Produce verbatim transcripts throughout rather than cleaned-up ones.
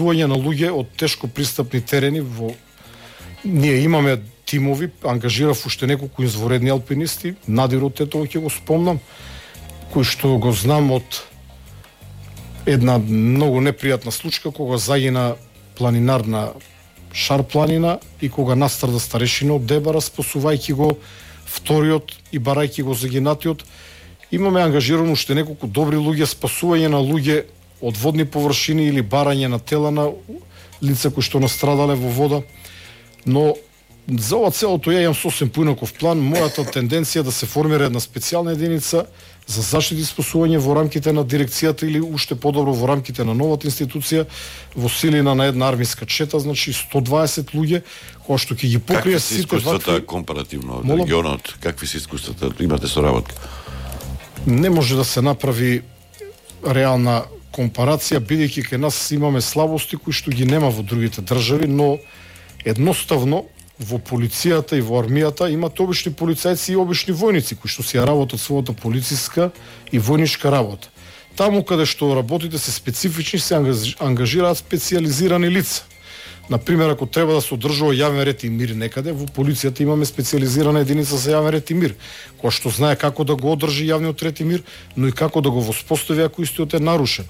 спасување на луѓе од тешко пристапни терени. Во ние имаме тимови, ангажирав уште неколку изворедни алпинисти, Надир од Тетово ќе го спомнам, кој што го знам од една многу непријатна случка кога загина планинар на Шар планина и кога настарда старешина од Дебара, спасувајќи го вториот и барајќи го загинатиот. Имаме ангажирано уште неколку добри луѓе, спасување на луѓе од водни површини или барање на тела на лица кои што настрадале во вода. Но за ова целото ја имам сосем поинаков план. Мојата тенденција да се формира една специјална единица за заштита и спасување во рамките на дирекцијата или уште подобро во рамките на новата институција во силина на една армиска чета, значи сто дваесет луѓе кои што ќе ги покрие сите вакви. Какви се искуствата компаративно од регионот? Какви се искуствата имате соработка? Не може да се направи реална компарација, бидејќи кај нас имаме слабости кои што ги нема во другите држави, но едноставно во полицијата и во армијата имат обични полицајци и обични војници кои што си ја работат својата полициска и војничка работа. Таму каде што работите се специфични, се ангажираат специјализирани лица. Например, ако треба да се одржува јавен ред и мир некаде, во полицијата имаме специјализирана единица за јавен ред и мир, која што знае како да го одржи јавниот ред и мир, но и како да го воспостави ако истиот е нарушен.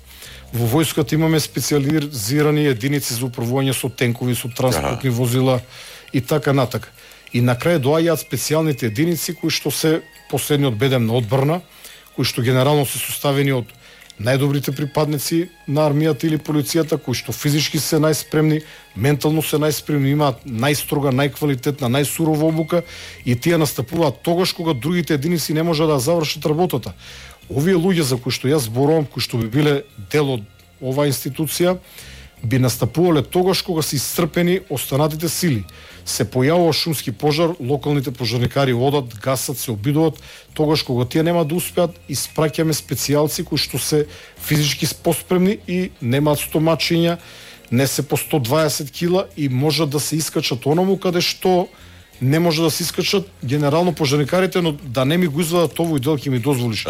Во војската имаме специјализирани единици за управување со тенкови, со транспортни возила и така натака. И на крај доаѓаат специјалните единици кои што се последниот бедем на одбрана, кои што генерално се составени од најдобрите припадници на армијата или полицијата, кои што физички се најспремни, ментално се најспремни, имаат најстрога, најквалитетна, најсурова обука и тие настапуваат тогаш кога другите единици не можат да завршат работата. Овие луѓе за кои што јас зборувам, кои што би биле дел од оваа институција, би настапувале тогаш кога се исцрпени останатите сили. Се појавува шумски пожар, локалните пожарникари одат, гасат, се обидуваат, тогаш кога тие нема да успеат, испраќаме специјалци кои што се физички поспремни и немаат стомачиња, не се по сто дваесет кила и можат да се искачат онаму каде што не може да се искачат генерално пожарникарите, но да не ми го извадат овој дел ќе ми дозволиш.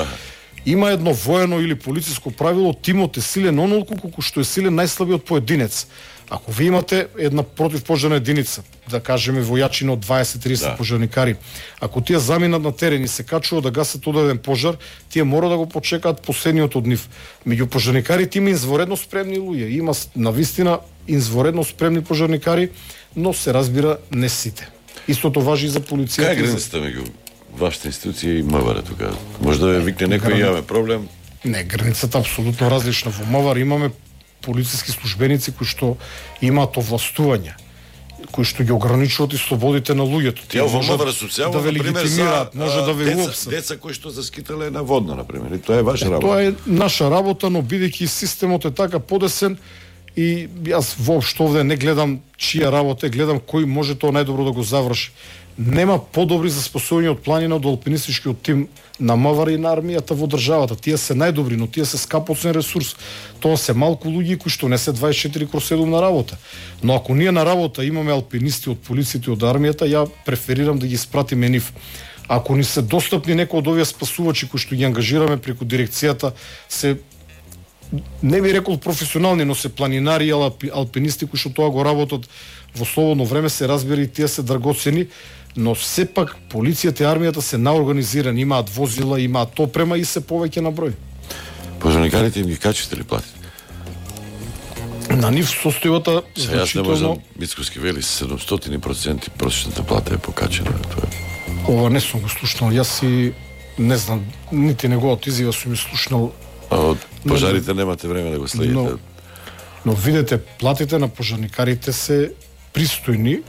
Има едно воено или полициско правило, тимот е силен онолку колку што е силен најслабиот поединец. Ако ви имате една противпожарна единица, да кажеме војачина од дваесет до тридесет да. пожарникари, ако тие заминат на терен и се качуваат да гасат одеден пожар, тие мора да го почекаат последниот од нив. Меѓу пожарникарите има изворедно спремни луѓе, има навистина изворедно спремни пожарникари, но се разбира не сите. Истото важи и за полицијата. Кај границата меѓу вашата институција и МВР тука? Може да ве викне некој и имаме проблем? Не, границата е апсолутно различна. Во МВР имаме полициски службеници кои што имаат овластување, кои што ги ограничуваат и слободите на луѓето. Тие во МВР социјално, да ве легитимираат, може да ве уопсат. Деца кои што заскитале на водно, например, и тоа е ваша работа. Тоа е наша работа, но бидејќи системот е така подесен и јас воопшто овде не гледам чија работа, гледам кој може тоа најдобро да го заврши. Нема подобри за спасување од планина од алпинистичкиот тим на МВР и на армијата во државата. Тие се најдобри, но тие се скапоцен ресурс. Тоа се малку луѓе кои што не се дваесет и четири кроз седум на работа. Но ако ние на работа имаме алпинисти од полицијата и од армијата, ја преферирам да ги спратиме нив. Ако ни се достапни некои од овие спасувачи кои што ги ангажираме преку дирекцијата, се не би рекол професионални, но се планинари и алпинисти кои што тоа го работат во слободно време, се разбира и тие се драгоцени, но сепак полицијата и армијата се наорганизирани, имаат возила, имаат опрема и се повеќе на број. Пожарникарите им ги качите ли плати? На нив состојбата значително... Јас не можам, Мицкоски вели седумстотини проценти просечната плата е покачена. Тоа. Ова не сум го слушнал, јас и не знам, нити неговата изјава сум ја слушнал. А од пожарите немате време да го следите. Но, но видете, платите на пожарникарите се пристојни,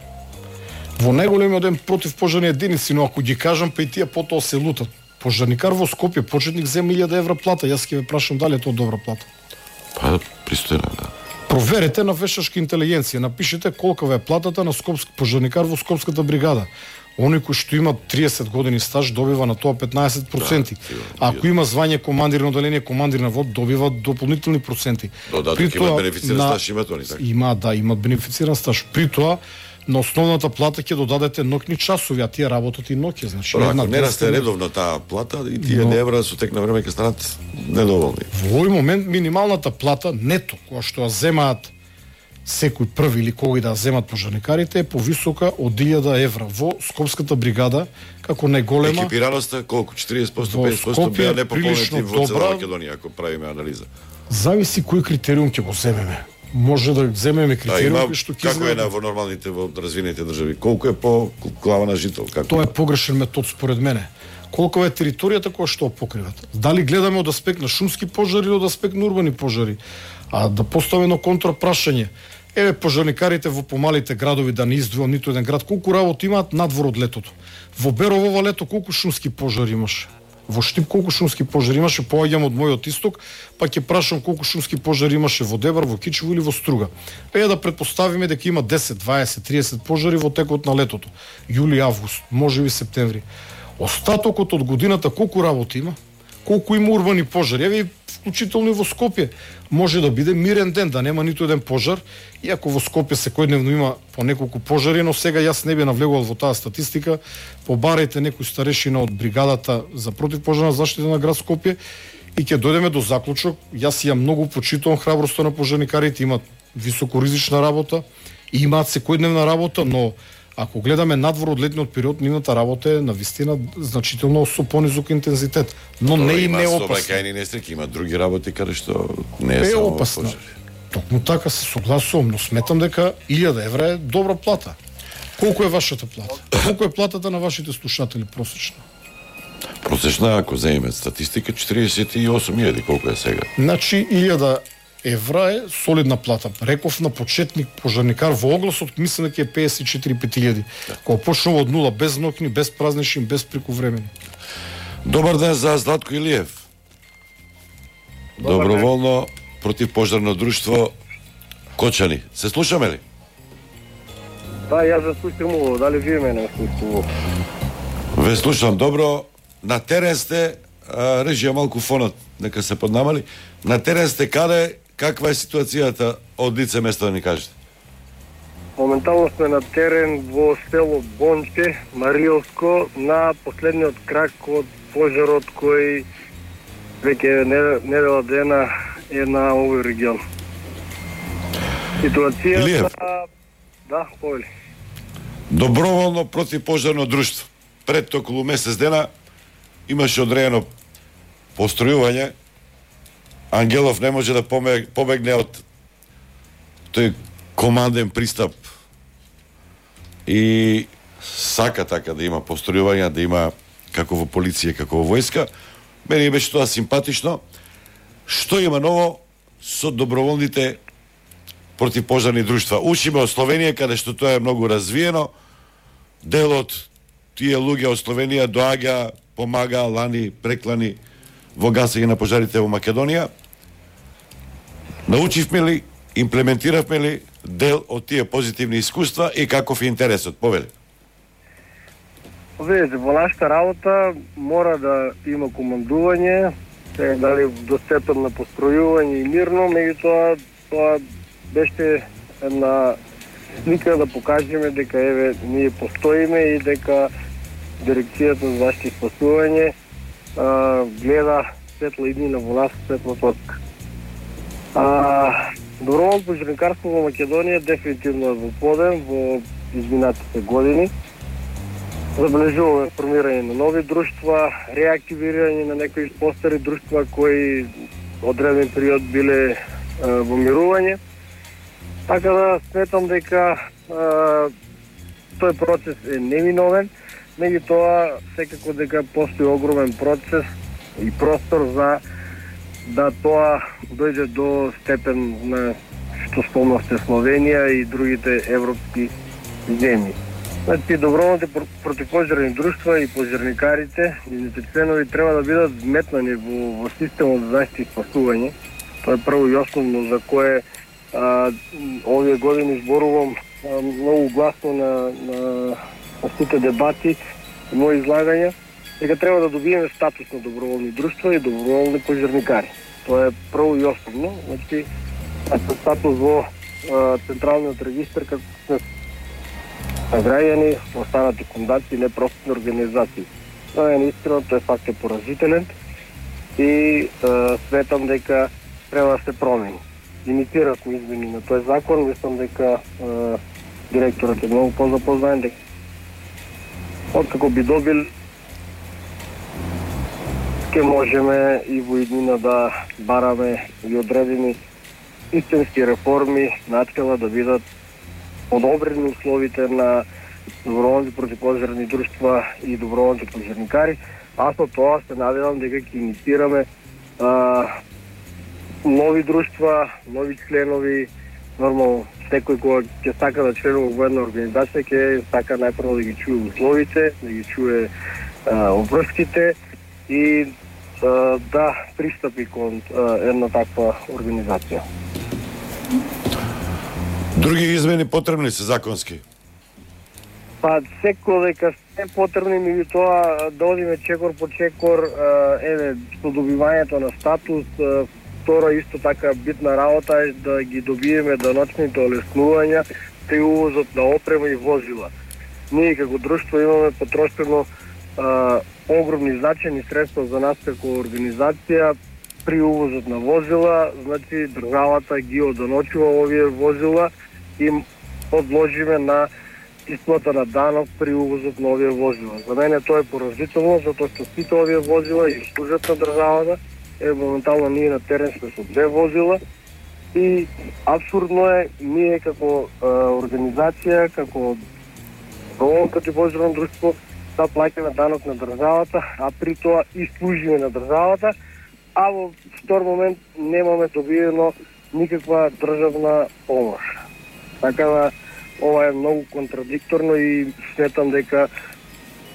во најголемиот ден против пожарни единици, но ако ги кажам, па и тие потоа се лутат. Пожарникар во Скопје, почетник зема илјада евра плата, јас ќе ве прашам дали е тоа добра плата. Па, пристојна, да. Проверете на вештачка интелигенција, напишете колкава е платата на скопски пожарникар во Скопската бригада. Оној кој што има триесет години стаж добива на тоа петнаесет проценти. Да, ако има звање командир на оделение, командир на вод, добива дополнителни проценти. Додаток има бенефициран на... стаж, имат они така? Има, да, има бенефициран стаж. При тоа, на основната плата ќе додадете ноќни часови, а тие работат и ноќе, значи. Ако не расте редовно таа плата, и тие но... евра со тек на време ќе станат недоволни. Во овој момент минималната плата нето, која што ја земаат секој први или кој да земат пожарникарите е повисока од илјада евра во Скопската бригада, како најголема. Екипираноста колку? четириесет проценти, петдесет проценти беа непополнети во цела Македонија, ако правиме анализа. Зависи кој критериум ќе го земеме. Може да земеме критериум да, што ќе како е на во нормалните во развинените држави, колку е по глава на жител, како? Тоа е погрешен метод според мене. Колку е територијата која што покриват. Дали гледаме од аспект на шумски пожари или од аспект на урбани пожари? А да поставиме едно контрапрашање. Еве пожарникарите во помалите градови, да не издвојам ниту еден град, колку работи имаат надвор од летото. Во Берово ова лето колку шумски пожари имаше? Во Штип колку шумски пожари имаше? Поаѓам од мојот исток, па ќе прашам колку шумски пожари имаше во Дебар, во Кичево или во Струга. Е да претпоставиме дека има десет, дваесет, триесет пожари во текот на летото. Јули, август, можеби септември. Остатокот од годината колку работи има? Колку има урбани пожари? Еве вклучително и во Скопје. Може да биде мирен ден, да нема ниту еден пожар, иако во Скопје секојдневно има по неколку пожари, но сега јас не би навлегувал во таа статистика. Побарајте некој старешина од бригадата за противпожарна заштита на град Скопје и ќе дојдеме до заклучок. Јас ја многу почитувам храброста на пожарникарите, имаат високоризична работа, имаат секојдневна работа, но ако гледаме надвор од летниот период, нивната работа е навистина значително со понизок интензитет, но не и не опасна. Сообраќајни несреќи, има други работи каде што не е, е само опасна. пожари. Токму така се согласувам, но сметам дека илјада евра е добра плата. Колку е вашата плата? Колку е платата на вашите слушатели просечно? Просечна, ако земеме статистика, четириесет и осум илјади, колку е сега? Значи илјада евра е солидна плата. Реков на почетник пожарникар во огласот, мислам дека е петдесет и четири пет илјади. Да. Кога почнува од нула, без ноќни, без празнични, без прековремени. Добар ден за Златко Илиев. Добар Доброволно противпожарно друштво Кочани. Се слушаме ли? Да, јас ве слушам ово, дали вие мене слушате? Ве слушам добро. На терен сте, а, режија малку фонот, нека се поднамали. На терен сте каде, каква е ситуацијата од лице место да ни кажете? Моментално сме на терен во село Бонче, Маријовско, на последниот крак од пожарот кој веќе недела дена е на овој регион. Ситуацијата... Илиев. Да, повели. Доброволно противпожарно друштво. Пред околу месец дена имаше одредено постројување. Ангелов не може да побегне од тој команден пристап и сака така да има постројувања, да има како во полиција, како во војска. Мене беше тоа симпатично. Што има ново со доброволните противпожарни друштва? Учиме од Словенија, каде што тоа е многу развиено. Дел од тие луѓе од Словенија доаѓа, помага, лани, преклани во гасење на пожарите во Македонија. Научивме ли, имплементиравме ли дел од тие позитивни искуства и каков е интересот? Повели. Видите, во нашата работа мора да има командување, се дали до степен на постројување и мирно, меѓутоа тоа беше една слика да покажеме дека еве ние постоиме и дека дирекцијата за заштита и спасување а, гледа светла иднина во нас, светла точка. А, доброволно пожарникарство во Македонија дефинитивно е во подем во изминатите години. Забележуваме формирање на нови друштва, реактивирање на некои постари друштва кои одреден период биле а, во мирување. Така да сметам дека а, тој процес е неминовен, меѓутоа секако дека постои огромен процес и простор за да тоа дојде до степен на што спомнавте Словенија и другите европски земји. Значи, доброволните противпожарни друштва и пожарникарите, нивните членови треба да бидат вметнани во, во системот за заштита и спасување. Тоа е прво и основно за кое а, овие години зборувам а, многу гласно на, на, на сите дебати и мои излагања, дека треба да добиеме статус на доброволни друштва и доброволни пожарникари. Тоа е прво и основно. Значи, статус во а, Централниот регистар како сме граѓани, останати фондации, непрофитни организации. Тоа е наистина, тој факт е поразителен и а, сметам дека треба да се промени. инициирасме измени на тој закон. Мислам дека е, директорот е многу позапознаен, дека откако би добил, ќе можеме и во иднина да бараме и одредени истински реформи начела да бидат подобрени условите на доброволните противопожарни друштва и доброволните пожарникари. Аз со тоа се надевам дека ќе инициираме а, нови друштва, нови членови. Нормално, секој кога ќе сака да членува во една организација, ќе сака најпрво да ги чуе условите, да ги чуе а, обврските и а, да пристапи кон а, една таква организација. Други измени потребни се законски? Па секој дека се потребни, меѓутоа да одиме чекор по чекор, еве, со добивањето на статус. Втора исто така битна работа е да ги добиеме даночните олеснувања при увозот на опрема и возила. Ние како друштво имаме потрошено а, огромни значени средства за нас како организација при увозот на возила. Значи државата ги оданочува овие возила и подложиме на исплата на данок при увозот на овие возила. За мене тоа е поразително, затоа што сите овие возила и служат на државата. Е, моментално ние на терен сме со две возила и абсурдно е ние како е, организација, како доброволно противопожарно друштво да плаќаме данок на државата, а при тоа и служиме на државата, а во втор момент немаме добиено никаква државна помош. Така да ова е многу контрадикторно и сметам дека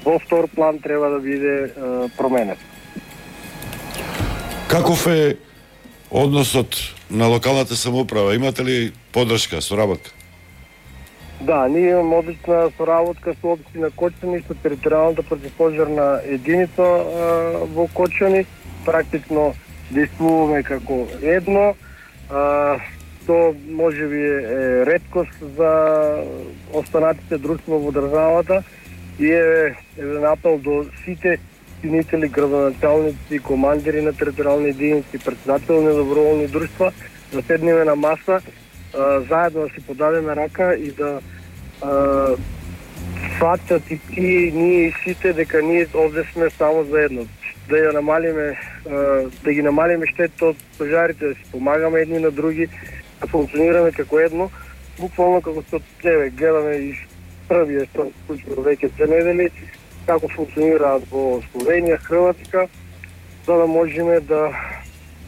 во втор план треба да биде е, променет. Каков е односот на локалната самоуправа? Имате ли поддршка, соработка? Да, ние имаме одлична соработка со општина Кочани, со територијалната противопожарна единица а, во Кочани. Практично действуваме како едно. А, то можеби е реткост за останатите друштва во државата и е еден апел до сите чинители, градоначалници, командири на територијални единици, председатели на доброволни друштва, да седнеме на маса, а, заедно да си подадеме рака и да сватат и ти, ние и сите, дека ние овде сме само заедно. Да ја намалиме, а, да ги намалиме штетите од пожарите, да си помагаме едни на други, да функционираме како едно, буквално како што еве гледаме и првиот што случува веќе две недели, како функционираат во Словенија, Хрватска, за да можеме да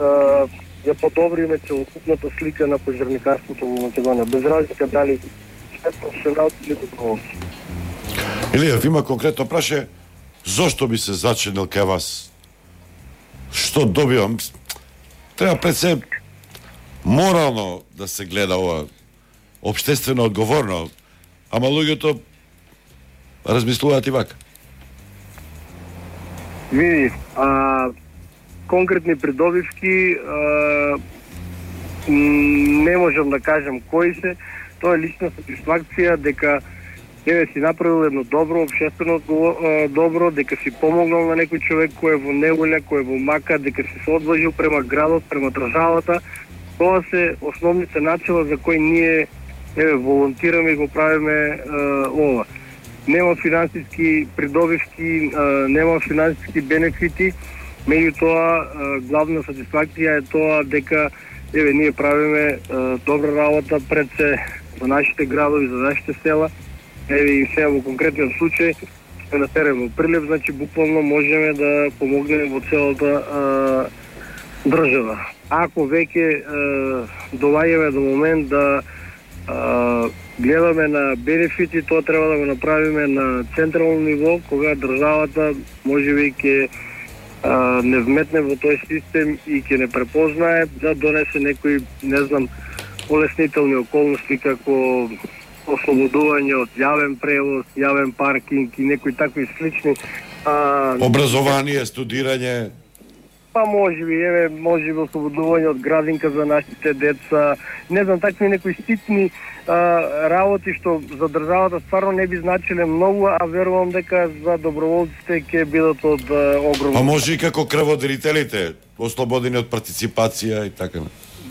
а, ја подобриме целокупната слика на пожарникарството во Македонија, без разлика дали е професионалци или доброволци. Илијав, има конкретно праше, зошто би се зачинил кај вас? Што добивам? Треба пред се морално да се гледа ова, општествено одговорно, ама луѓето размислуваат и вака. Види, а, конкретни придобивки а, не можам да кажам кои се. Тоа е лична сатисфакција дека еве си направил едно добро, општествено добро, дека си помогнал на некој човек кој е во неволја, кој е во мака, дека си се одважил према градот, према државата. Тоа се основните начела за кои ние еве волонтираме и го правиме е, ова. Нема финансиски придобивки, е, нема финансиски бенефити, меѓутоа главна сатисфакција е тоа дека еве ние правиме е, добра работа пред се за нашите градови, за нашите села. Еве и сега во конкретниот случај сме на терен во Прилеп, значи буквално можеме да помогнеме во целата а, држава. Ако веќе доаѓаме до момент да а, гледаме на бенефити, тоа треба да го направиме на централно ниво, кога државата можеби ќе не вметне во тој систем и ќе не препознае да донесе некои, не знам, олеснителни околности како ослободување од јавен превоз, јавен паркинг и некои такви слични а, образование, студирање. Па можеби, еве, можеби ослободување од градинка за нашите деца, не знам, такви некои ситни а, работи што за државата стварно не би значиле многу, а верувам дека за доброволците ќе бидат од а, огромно. А може и како крводарителите, ослободени од партиципација и така.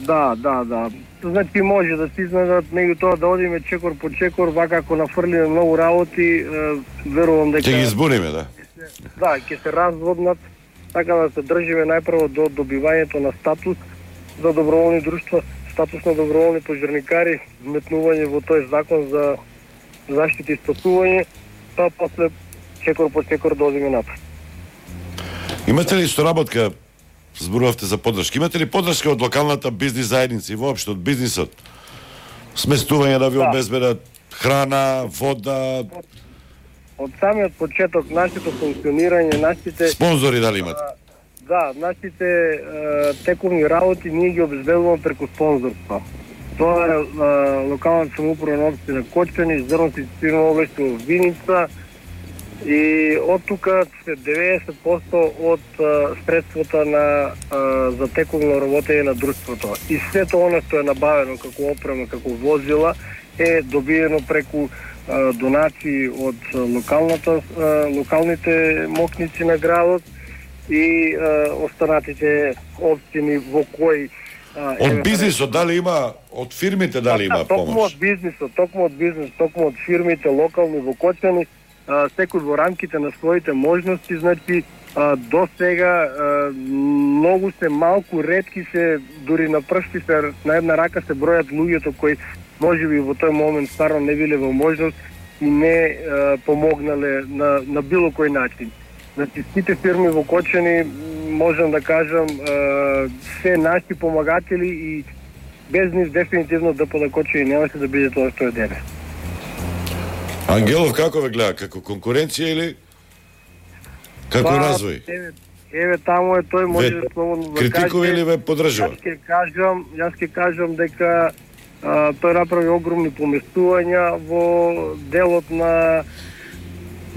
Да, да, да. Значи може да се изнадат, меѓутоа да одиме чекор по чекор, вака ако нафрлиме многу работи, верувам дека... Ќе ги избуниме, да. Да, ќе се разводнат, така да се држиме најпрво до добивањето на статус за доброволни друштва, статус на доброволни пожарникари, вметнување во тој закон за заштита и спасување, па после чекор по чекор да одиме напред. Имате ли соработка, зборувавте за поддршка, имате ли поддршка од локалната бизнис заедница и воопшто од бизнисот? Сместување да ви Да. обезбедат храна, вода, Од самиот почеток, нашето функционирање, нашите... спонзори дали имате? Да, нашите е, тековни работи ние ги обезбедуваме преку спонзорства. Тоа е е, локалната самоуправна општина Кочани, зрното инвестирано облекте во Виница и од тука се деветдесет проценти од е, средствата на е, за тековно работење на друштвото. И сето оно што е набавено како опрема, како возила е добиено преку е, донации од локалната е, локалните мокници на градот и е, останатите општини во кои Од бизнисот дали има, од фирмите дали има Токму помош? од бизнисот, токму од бизнис, токму од фирмите локални во Кочани, а, секој во рамките на своите можности, значи а, до сега а, многу се малку ретки се, дури на пршти се на една рака се бројат луѓето кои можеби во тој момент стварно не биле во можност и не а, помогнале на, на било кој начин. Значи, сите фирми во Кочани, можам да кажам, се наши помагатели и без нив дефинитивно ДПД Кочани немаше да биде тоа што е денес. Ангелов како ве гледа, како конкуренција или како Па, развој? Еве, еве таму е тој, може да слободно да критикува каже. или ве подржува? Јас ќе кажам, јас ќе кажам дека а, тој направи огромни поместувања во делот на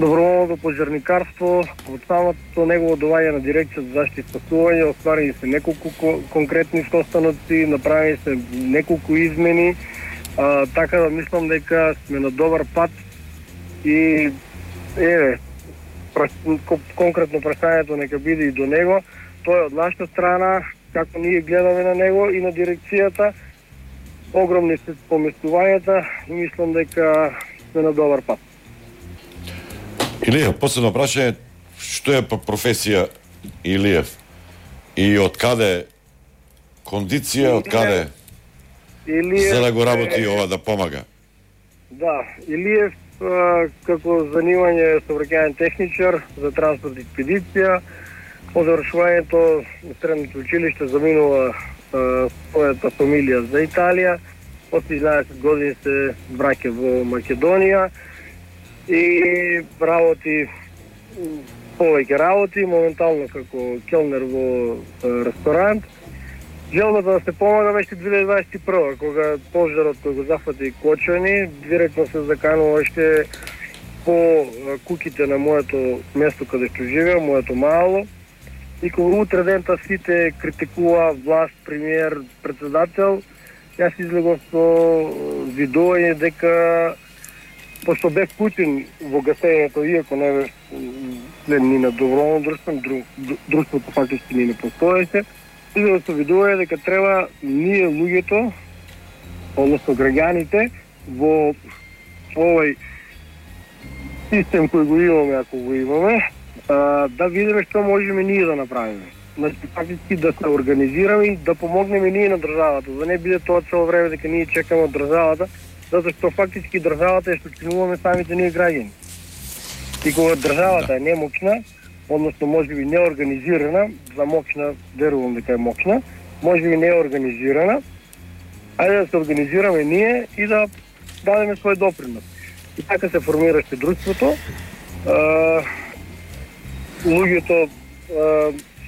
доброволното пожарникарство. Од самото негово доваѓање на дирекција за заштита и спасување остварени се неколку конкретни состаноци, направени се неколку измени, а, така да мислам дека сме на добар пат и еве конкретно прашањето нека биде и до него. Тоа е од нашата страна, како ние гледаме на него и на дирекцијата. Огромни се поместувањата и мислам дека сме на добар пат. Илиев, последно прашање, што е по професија Илиев? И од каде кондиција, од каде Илиев, за да го работи ова да помага? Да, Илиев а, како занимање е сообраќајен техничар за транспорт и експедиција. По завршувањето на средното училиште заминува а, својата фамилија за Италија. После еднаесет години се враќа во Македонија и работи повеќе работи, моментално како келнер во а, ресторант. Желбата да се помага беше две илјади дваесет и прва, кога пожарот кој го зафати Кочани, директно се заканува уште по а, куките на моето место каде што живеам, моето мало. И кога утре дента сите критикува власт, премиер, председател, јас излегов со видување дека пошто бев вклучен во гасењето, иако не бев член ни на доброволно друштво, дру, друштвото фактички ни не постоеше, излегов со видување дека треба ние луѓето, односно граѓаните, во овој систем кој го имаме, ако го имаме, да видиме што можеме ние да направиме. Значи, фактички да се организираме и да помогнеме ние на државата, да не биде тоа цело време дека ние чекаме од државата, затоа што фактички државата е што чинуваме самите ние граѓани. И кога државата е немоќна, односно можеби неорганизирана, за моќна, верувам дека е моќна, можеби неорганизирана, ајде да се организираме ние и да дадеме свој допринос. И така се формираше друштвото. Луѓето,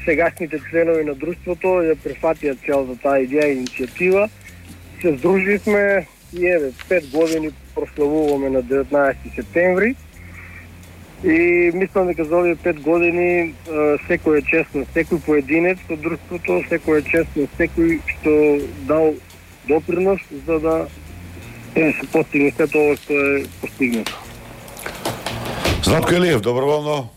сегашните членови на друштвото ја прифатија целата таа идеја и иницијатива. Се здруживме и еве пет години прославуваме на деветнаесети септември. И мислам дека за овие пет години секој е честно, секој поединец од друштвото, секој е честно, секој што дал допринос за да е, се постигне се тоа што е постигнато. Златко Илиев, доброволно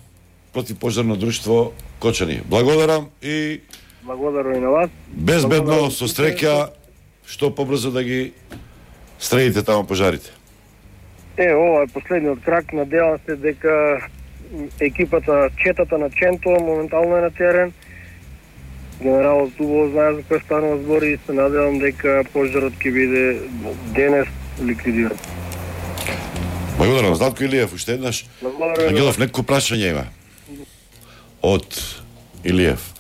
противпожарно друштво Кочани. Благодарам и Благодарам и на вас. Безбедно, со среќа, што побрзо да ги стредите таму пожарите. Е, ова е последниот крак. Надевам се дека екипата, четата на Ченто моментално е на терен. Генералот убаво знае за кој станува збори и се надевам дека пожарот ќе биде денес ликвидиран. Благодарам. Златко Илиев, уште еднаш. Ангелов, некој прашање има од Илиев.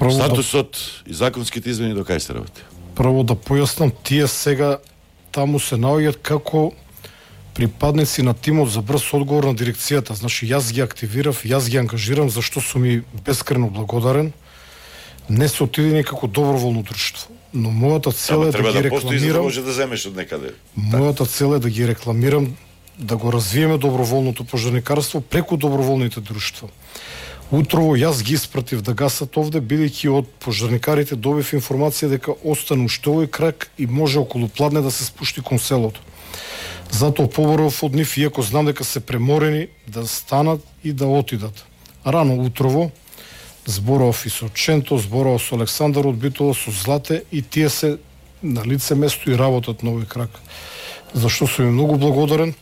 Прво статусот да... и законските измени до кај се работи? Прво да појаснам, тие сега таму се наоѓаат како припадници на тимот за брз одговор на дирекцијата. Значи, јас ги активирав, јас ги ангажирам, зашто сум и безкрено благодарен. Не се отидени како доброволно друштво. Но мојата цел е да ги рекламирам. Треба да постои за да може да земеш од некаде. Мојата цел е да ги рекламирам, да го развиеме доброволното пожарникарство преку доброволните друштва. Утрово јас ги испратив да гасат овде, бидејќи од пожарникарите добив информација дека остана уште овој крак и може околу пладне да се спушти кон селото. Затоа поборов од нив, иако знам дека се преморени, да станат и да отидат. Рано утрово зборов и со Ченто, зборов со Александар од Битола, со Злате и тие се на лице место и работат на овој крак. Зашто сум им многу благодарен.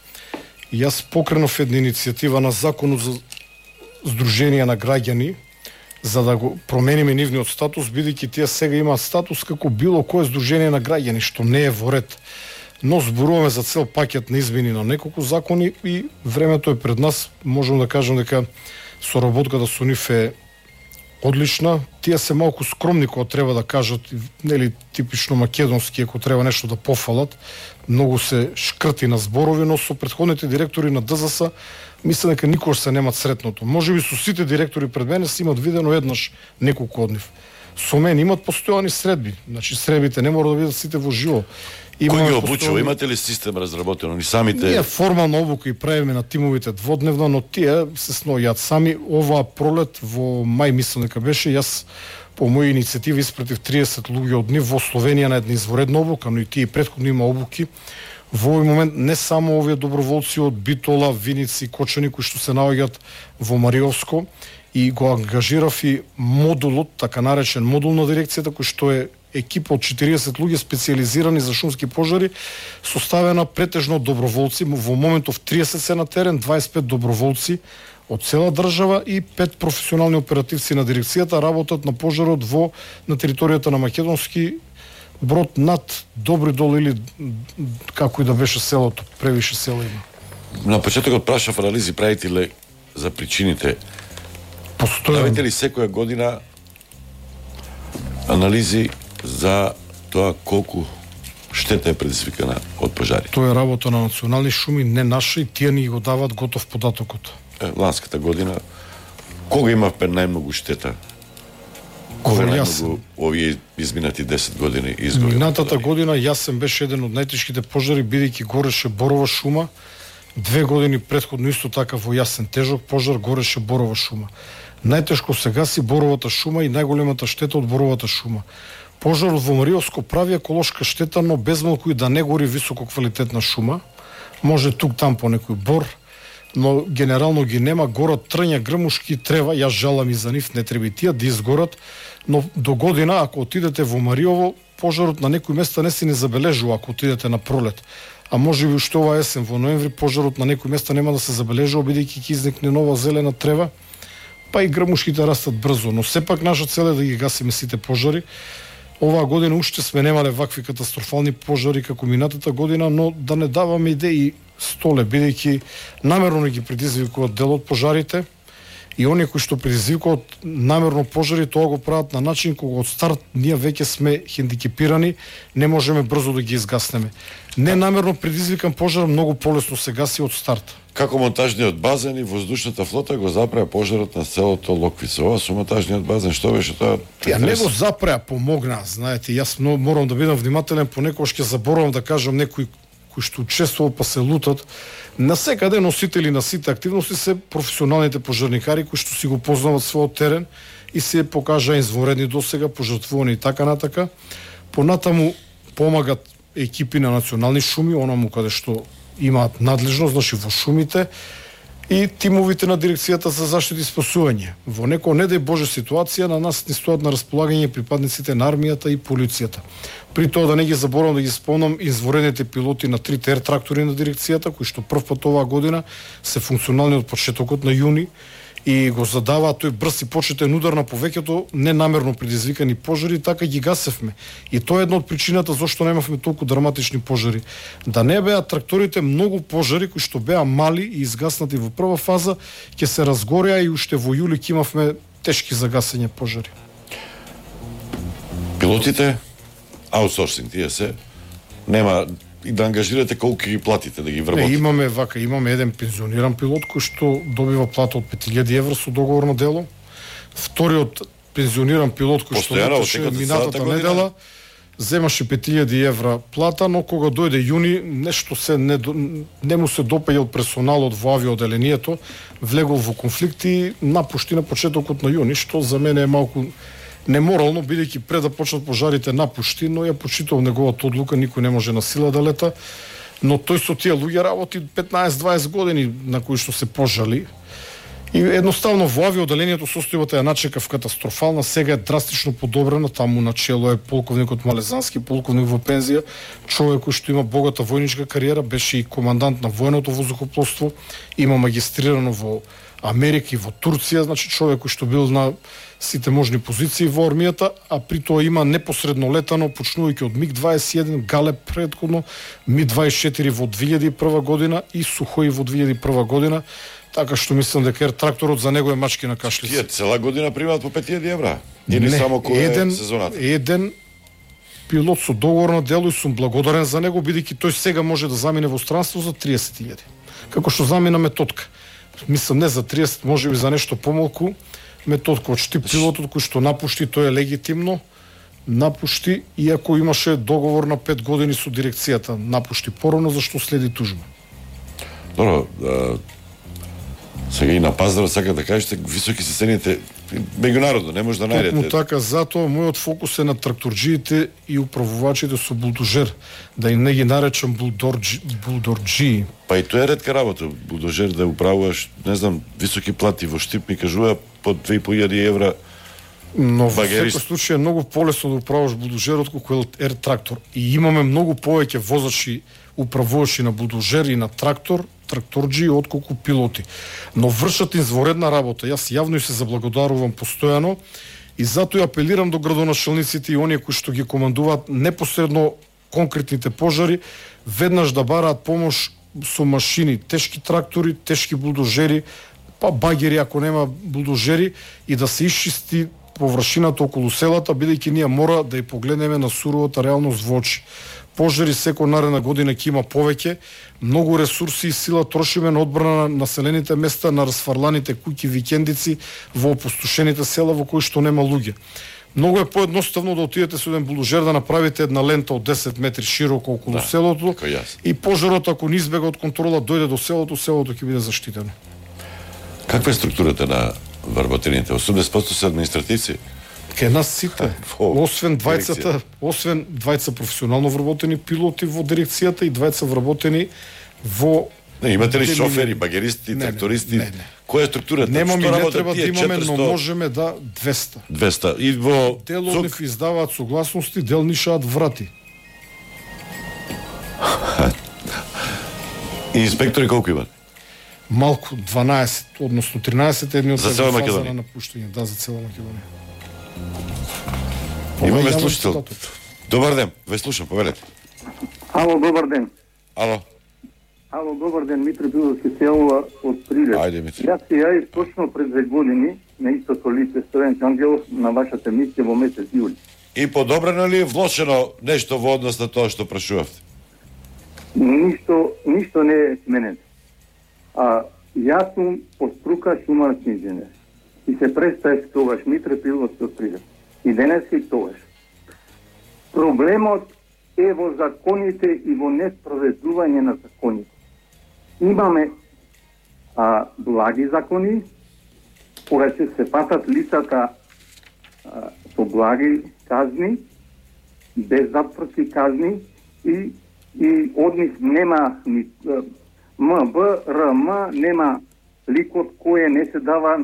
И јас покренов една иницијатива на законот за Сдруженија на граѓани за да го промениме нивниот статус, бидејќи тие сега имаат статус како било кое здружение на граѓани, што не е во ред. Но зборуваме за цел пакет на измени на неколку закони и времето е пред нас. Можам да кажам дека соработката со нив е одлична. Тие се малку скромни кога треба да кажат, нели типично македонски, ако треба нешто да пофалат. Многу се шкрти на зборови, но со претходните директори на ДЗС мислам дека никош се немат сретното. Можеби со сите директори пред мене се имат видено еднаш неколку од нив. Со мен имат постојани средби. Значи средбите не мора да бидат сите во живо. Кој ги обучува? Имате ли систем разработено? Ни самите... Ние формална обука и правиме на тимовите дводневно, но тие се снојат сами. Оваа пролет во мај мислам дека беше, јас по моја иницијатива испратив триесет луѓе од нив во Словенија на една изворедна обука, но и тие претходно има обуки. Во овој момент не само овие доброволци од Битола, Виници, Кочани кои што се наоѓаат во Мариовско, и го ангажирав и модулот, така наречен модул на дирекцијата, кој што е екипа од четириесет луѓе специјализирани за шумски пожари, составена претежно од доброволци. Во моментов триесет се на терен, дваесет и пет доброволци од цела држава и пет професионални оперативци на дирекцијата работат на пожарот во на територијата на Македонски Брод над Добри Дол или како и да беше селото, превише села има. На почетокот прашав анализи правите ли за причините? Постојам. Правите ли секоја година анализи за тоа колку штета е предизвикана од пожари? Тоа е работа на национални шуми, не наша, и тие ни го дават готов податокот. Е, ланската година кога имавме најмногу штета? Кога најмногу овие изминати десет години изгори? Минатата година Јасен беше еден од најтешките пожари, бидејќи гореше борова шума. Две години претходно исто така во Јасен тежок пожар гореше борова шума. Најтешко се гаси боровата шума и најголемата штета од боровата шума. Пожарот во Мариовско прави еколошка штета, но без малку и да не гори високо квалитетна шума. Може тук там по некој бор, но генерално ги нема. Горат трња, грмушки, трева, јас жалам и за нив, не треба и тие да изгорат, но до година ако отидете во Мариово, пожарот на некои места не се не забележува ако отидете на пролет. А може би уште ова есен во ноември пожарот на некои места нема да се забележува, бидејќи ќе изникне нова зелена трева, па и грмушките растат брзо, но сепак наша цел е да ги гасиме сите пожари. Оваа година уште сме немале вакви катастрофални пожари како минатата година, но да не даваме идеи столе, бидејќи намерно не ги предизвикуваат дел од пожарите, и оние кои што предизвикуваат намерно пожари, тоа го прават на начин кога од старт ние веќе сме хендикепирани, не можеме брзо да ги изгаснеме. Не намерно предизвикан пожар многу полесно се гаси од старт. Како монтажниот базен и воздушната флота го запреа пожарот на селото Локвица. Ова со монтажниот базен, што беше тоа? Ја не го запреа, помогна, знаете, јас морам да бидам внимателен, понекогаш ќе заборавам да кажам некои кои што учествувал па се лутат. На секаде носители на сите активности се професионалните пожарникари кои што си го познават својот терен и се покажа извонредни досега, пожртвувани и така натака. Понатаму помагат екипи на национални шуми, онаму каде што имаат надлежност, значи во шумите, и тимовите на дирекцијата за заштита и спасување. Во некоја не дај Боже ситуација на нас ни стојат на располагање припадниците на армијата и полицијата. При тоа да не ги заборавам да ги спомнам изворените пилоти на трите ер трактори на дирекцијата кои што прв пат оваа година се функционални од почетокот на јуни и го задаваат тој брз и почетен удар на повеќето ненамерно предизвикани пожари, така ги гасевме. И тоа е една од причината зашто немавме толку драматични пожари. Да не беа тракторите многу пожари кои што беа мали и изгаснати во прва фаза, ќе се разгореа и уште во јули ќе имавме тешки загасење пожари. Пилотите аутсорсинг, тие се нема и да ангажирате колку ги платите да ги вработите. Не, имаме вака, имаме еден пензиониран пилот кој што добива плата од пет илјади евра со договорно дело. Вториот пензиониран пилот кој што леташе минатата недела земаше пет илјади евра плата, но кога дојде јуни нешто се не, не му се допаѓал персоналот во авиоделението, влегол во конфликт и напушти на почетокот на јуни, што за мене е малку неморално, бидејќи пред да почнат пожарите напушти, но ја почитувам неговата одлука, никој не може на сила да лета, но тој со тие луѓе работи петнаесет-дваесет години на кои што се пожали. И едноставно во авиоделението состојбата ја начекав катастрофална, сега е драстично подобрена, таму начело е полковникот Малезански, полковник во пензија, човек кој што има богата војничка кариера, беше и командант на военото воздухопловство, има магистрирано во Америка и во Турција, значи човек кој што бил на сите можни позиции во армијата, а при тоа има непосредно летано, почнувајќи од миг дваесет и еден, Галеб предходно, миг дваесет и четири во две илјади и прва година и Сухој во две илјади и прва година, така што мислам дека ер тракторот за него е мачки на кашлица. Тие цела година примаат по пет илјади евра? Или не, само кој еден, е сезоната? Еден пилот со договорно дело и сум благодарен за него, бидејќи тој сега може да замине во странство за триесет илјади. Како што замина Методка. Мислам не за триесет, можеби за нешто помалку. Методка од Штип пилотот кој што напушти, тој е легитимно, напушти, иако имаше договор на пет години со дирекцијата, напушти порано, зашто следи тужба. Добро, а, сега и на пазарот сака да кажете, високи се цените меѓународно, не може да најдете. Токму така, затоа мојот фокус е на тракторџиите и управувачите со булдожер, да им не ги наречам булдорџи, булдорџии. Па и тоа е ретка работа, булдожер да управуваш, не знам, високи плати во Штип ми кажува по две и по илјади евра. Но во секој случај е многу полесно да управуваш булдожер отколку ер трактор. И имаме многу повеќе возачи, управувачи на булдожер и на трактор, тракторџи отколку пилоти. Но вршат изворедна работа. Јас јавно и се заблагодарувам постојано и затоа апелирам до градоначалниците и оние кои што ги командуваат непосредно конкретните пожари, веднаш да бараат помош со машини, тешки трактори, тешки булдожери, па багери ако нема булдожери, и да се исчисти површината околу селата, бидејќи ние мора да ја погледнеме на суровата реалност во очи. Пожари секој наредна година ќе има повеќе, многу ресурси и сила трошиме на одбрана на населените места, на расфарланите куќи, викендици, во опустошените села во кои што нема луѓе. Многу е поедноставно да отидете со еден булдожер да направите една лента од десет метри широко околу да, селото и пожарот ако не избега од контрола дојде до селото, селото ќе биде заштитено. Каква е структурата на вработените? осумдесет проценти се административци? Ке нас сите, освен двајцата, освен двајца професионално вработени пилоти во дирекцијата и двајца вработени во... Не, имате ли шофери, багеристи, не, трактористи? Не, не. Која е структурата? Немаме, не треба да имаме, четиристо... но можеме да двеста. двеста. И во... Дел од нив издаваат согласности, дел нишаат врати. И инспектори колку имат? Малку, дванаесет, односно тринаесет, едни од за цела Македонија на напуштање, да, за цела Македонија. Имаме слушател. Добар ден, ве слушам, повелете. Ало, добар ден. Ало. Ало, добар ден, Митро Биловски селова од Прилеп. Ајде, Митро. Јас се јавив точно пред две години на истото лице Стојан Ангелов на вашата емисија во месец јули. И подобрено ли е влошено нешто во однос на тоа што прашувавте? Ништо, ништо не е сменено. А јас сум по струка шумарски инженер. И се представив тогаш Митро Биловски од Прилеп. И денес и тогаш. Проблемот е во законите и во неспроведување на законите. Имаме а, благи закони, кога ќе се патат лицата а, со благи казни, без затворски казни и, и од нив нема ни М Б, Р М, нема ликот кој не се дава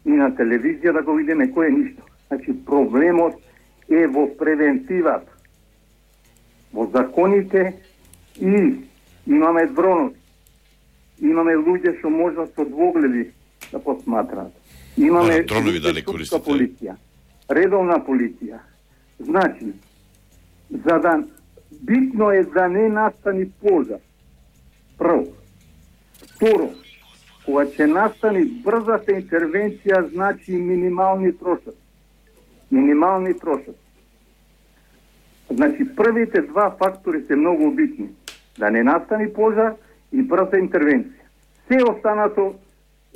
и на телевизија да го видиме кој е ништо. Значи проблемот е во превентивата, во законите и имаме дронови, имаме луѓе што можат со двогледи да посматраат. Имаме дронови дали користите? Полиција, редовна полиција. Значи, за да битно е да не настани пожар. Прво. Второ, кога ќе настани брзата интервенција, значи минимални трошоци. Минимални трошоци. Значи, првите два фактори се многу битни. Да не настани пожар и брза интервенција. Се останато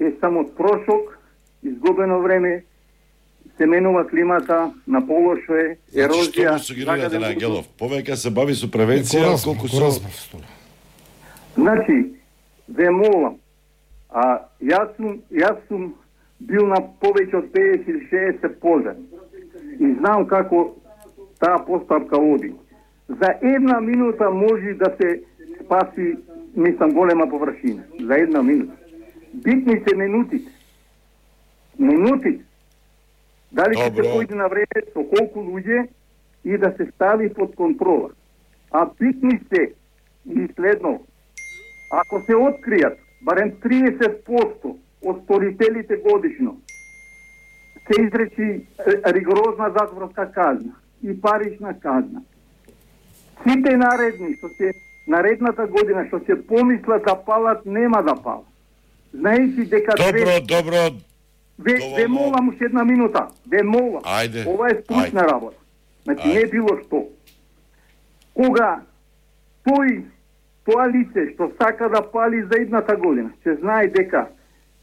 е само трошок, изгубено време, се менува климата, на полошо е, ерозија. Значи, што сугерирате на Ангелов? Повеќе се бави со превенција, колку со... Значи, ве молам, а јас сум, јас сум бил на повеќе од педесет или шеесет пожари и знам како таа постапка оди. За една минута може да се спаси, мислам, голема површина. За една минута. Битни се минутите. Минутите. Дали ќе се појде на време, со колку луѓе и да се стави под контрола. А битни се и следно, ако се откријат барем триесет проценти од сторителите годишно, се изречи ригорозна затворска казна и парична казна. Сите наредни, што се наредната година, што се помислат да палат, нема да палат. Знаејќи дека... Добро, две... добро, Ве, ве молам уште една минута. Ве молам. Ајде. Ова е скучна работа. Значи не било што. Кога тој, тоа лице што сака да пали за едната година, се знае дека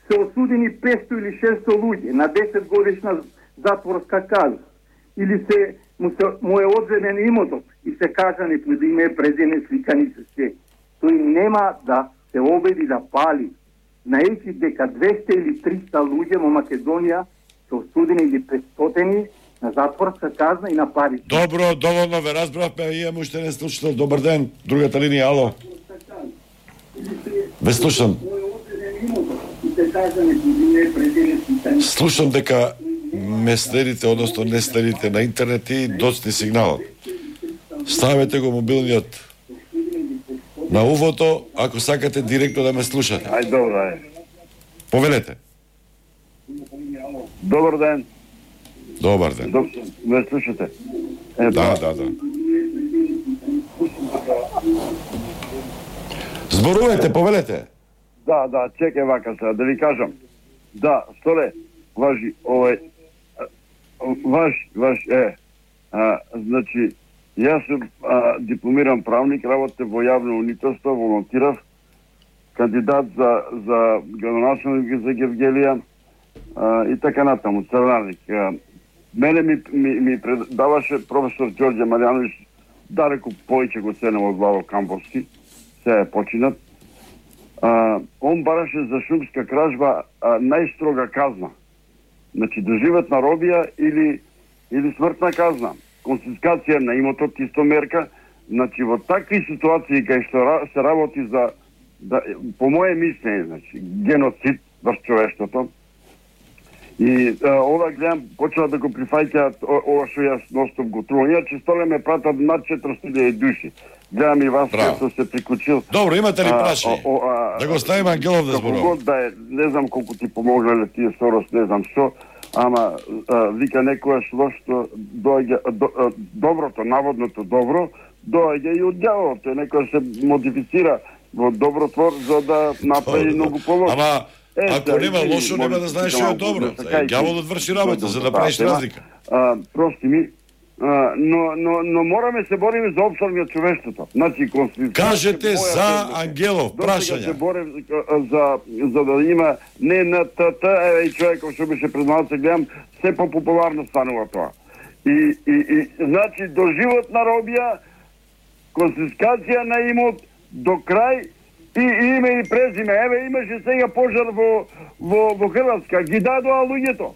се осудени петстотини или шестстотини луѓе на десет годишна затворска казна, или се му, се, му е одземен имотот и се кажани под име, презиме, сликани се се. Тој нема да се обиди да пали. Знаејќи дека двесте или триста луѓе во Македонија се осудени или петстотини на затворска казна и на пари. Добро, доволно ве разбравме, имаме уште не слушател. Добар ден, другата линија, ало. Ве слушам. Слушам дека ме следите, односно не следите на интернет и доцни сигналот. Ставете го мобилниот на увото, ако сакате директно да ме слушате. Ај, добро е. Повелете. Добар ден. Добар ден. Доб... Ме слушате? Е, да, да, да, да. Зборувајте, повелете. Да, да, чекај вака сега, да ви кажам. Да, столе, важи, овој, ваш, ваш, е, а, значи, јас сум а, дипломиран правник, работе во јавно унителство, волонтирав, кандидат за, за градоначалник за Гевгелија а, и така натаму, царнарник. А, мене ми, ми, ми предаваше професор Ѓорѓе Маријановиќ, далеку повеќе го ценам од Владо Камбовски, се е починат. А, он бараше за шумска кражба а, најстрога казна. Значи, доживотна робија или, или смртна казна. Конфискација на имотот исто мерка. Значи, во такви ситуации кај што се работи за, да, по моје мислење, значи, геноцид врз човештвото. И а, ова гледам, почела да го прифаќаат ова што јас ностом го трувам. Иначе столе ме пратат над четиристотини илјади души. Гледам и вас што се приклучил. Добро, имате ли прашање? Да го ставиме Ангелов да зборува. Да е, не знам колку ти помогле тие Сорос, не знам што, ама а, вика некојаш лошто доаѓа до, а, доброто, наводното добро, доаѓа и од ѓаволот. Тој некојаш се модифицира во добротвор за да направи многу полошо. Ама Е, ако да, нема лошо, нема да знаеш што е добро. Ѓаволот врши работа за да правиш разлика. А, прости ми, а, но, но, но мораме се бориме за опстанок човештвото. Значи, кажете за Ангелов, прашања. Се борим за, за да има не на ТТ, еве и човеков што беше пред малце, гледам, се по-популарно станува тоа. И, и, и значи, доживотна робија, конфискација на имот, до крај, и име и презиме. Еве имаше сега пожар во во во Хрватска, ги дадоа луѓето.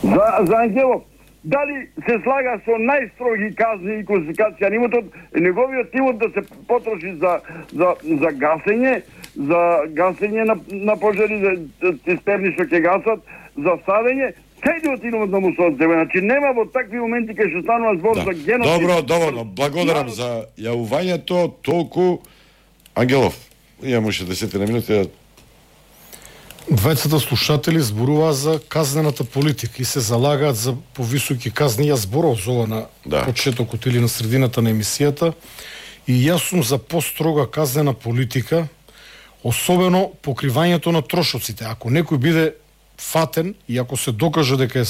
За за Ангелов, дали се слага со најстроги казни и конфискација на имотот, неговиот имот да се потроши за за за гасење, за гасење на, на пожари, за цистерни што ќе гасат, за садење, кај да отидуват да му се одземе? Значи нема во такви моменти кај што станува збор Да. за геноцид. Добро, доволно. Благодарам за јавувањето. Толку Ангелов. Имаше десетина минути да Двајцата слушатели зборуваат за казнената политика и се залагаат за повисоки казни. Јас зборов за ова на Да. почетокот или на средината на емисијата. И јас сум за построга казнена политика, особено покривањето на трошоците. Ако некој биде фатен и ако се докаже дека е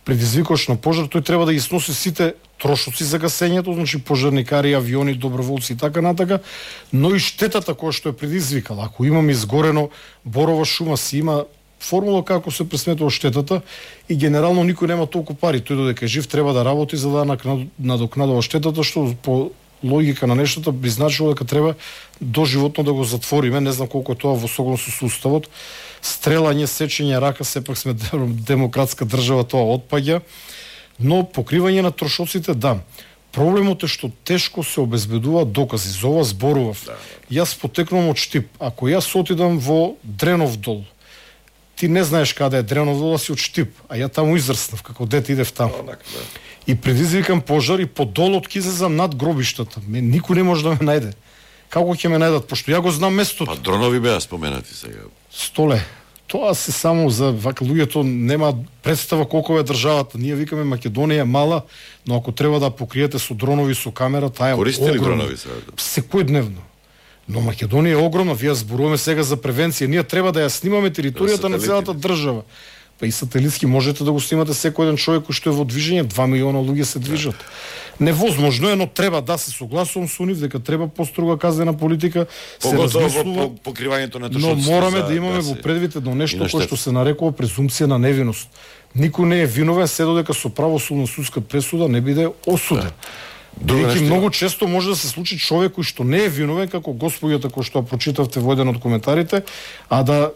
предизвикач на пожар, тој треба да ги сноси сите трошоци за гасењето, значи пожарникари, авиони, доброволци и така натака, но и штетата која што е предизвикала. Ако имаме изгорено борова шума, си има формула како се пресметува штетата и генерално никој нема толку пари. Тој додека е жив треба да работи за да надокнадува штетата, што по логика на нештата би значило дека треба доживотно да го затвориме. Не знам колку е тоа во согласно со уставот. Стрелање, сечење рака, сепак сме демократска држава, тоа отпаѓа. Но покривање на трошоците, да. Проблемот е што тешко се обезбедуваат докази. За ова зборував. Да, да. Јас потекнувам од Штип. Ако јас отидам во Дренов дол, ти не знаеш каде е Дренов дол, а си од Штип, а ја таму израснав, како дете идев таму. Одак, да. И предизвикам пожар и по долот ќе излезам над гробиштата. Ме никој не може да ме најде. Како ќе ме најдат, пошто ја го знам местото. Па дронови беа споменати сега. Столе. Тоа се само за вака луѓето нема представа колку е државата. Ние викаме Македонија е мала, но ако треба да покриете со дронови, со камера, таа е Користите ли огромна. дронови сега? Секојдневно. Но Македонија е огромна, вие зборуваме сега за превенција. Ние треба да ја снимаме територијата на целата држава. Па и сателитски можете да го снимате секој еден човек кој што е во движење, два милиона луѓе се движат. Невозможно е, но треба да се согласувам со нив дека треба построга казнена политика, се Поготово размислува. во покривањето на Но трошоците. мораме за да имаме гаси. во предвид едно нешто И кое на што се нарекува презумпција на невиност. Никој не е виновен се додека со правосудна судска пресуда не биде осуден. Друго Бидејќи нешто многу често може да се случи човек кој што не е виновен, како господјата кој што ја прочитавте во еден од коментарите, а да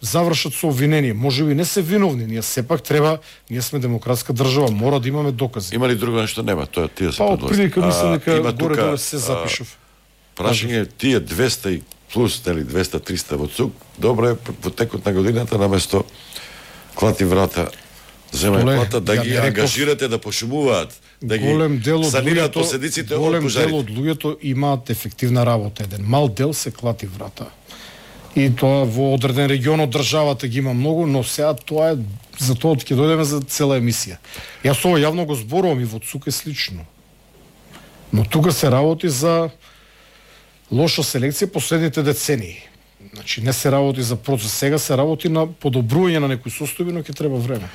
завршат со обвинение. Можеби не се виновни, ние сепак треба, ние сме демократска држава, мора да имаме докази. Има ли друго нешто? Нема, тоа тие се Па од предложи. прилика мислам дека има горе тука, доле се запишав. Прашање тие двеста и плюс, нели двеста триста во ЦУК, добро е во текот на годината наместо клати врата земај Столе, плата да ја ги не реков- ангажирате да пошумуваат, да ги Голем дел од санираат луѓето, последиците од голем пожарите. дел од луѓето имаат ефективна работа. Еден мал дел се клати врата. И тоа во одреден регион од државата ги има многу, но сега тоа е за тоа ќе дојдеме за цела емисија. Јас ова јавно го зборувам и во ЦУК е слично. Но тука се работи за лоша селекција последните децении. Значи не се работи за процес, сега се работи на подобрување на некои состојби, но ќе треба време.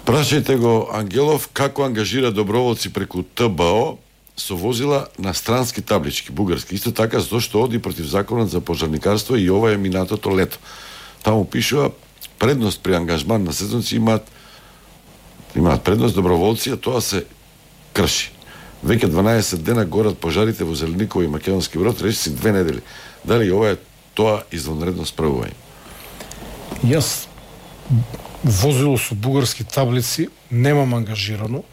Прашајте го Ангелов како ангажира доброволци преку Т Б О со возила на странски таблички, бугарски. Исто така зашто оди против законот за пожарникарство и ова е минатото лето. Таму пишува предност при ангажман на сезонци имаат имаат предност доброволци, а тоа се крши. Веќе дванаесет дена горат пожарите во Зелениково и Македонски Брод, речи си две недели. Дали ова е тоа извонредно справување? Јас возило со бугарски таблици немам ангажирано,